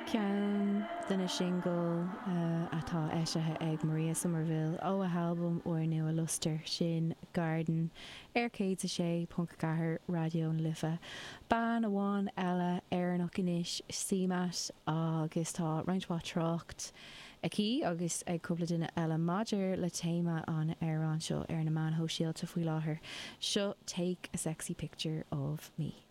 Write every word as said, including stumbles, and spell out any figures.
Ceann de na singil atá eisithe ag Maria Somerville ó a halbam úrnua Luster sin Garden ar céad a sé ponc ceathair Raidió na Life. Bean amháin eile Éireannach anois CMAT agus tá roinnt mhaith trácht aici agus ag cúpla duine eile maidir le téama an amhráin seo ar na meáin shóisialta faoi láthair. Seo Take a Sexy Picture of Me.